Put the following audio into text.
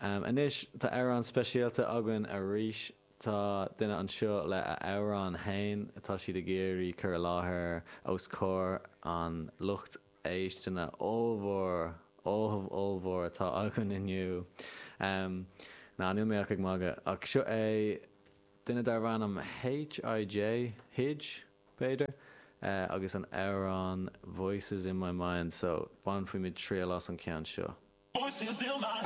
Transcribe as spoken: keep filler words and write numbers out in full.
Anois tá amhrán speisialta againn arís tá duine anseo le a amhrán féin atá siad ag iarraidh cur i láthair os comhair an lucht éisteachta ollmhór ollmhór atá againn inniu. Ná níl mé ach ag magadh ach seo é duine darb ainm HIJ Hij b'fhéidir agus an amhrán Voices in my mind so bainfimid triail as an ceann seo. Voices in my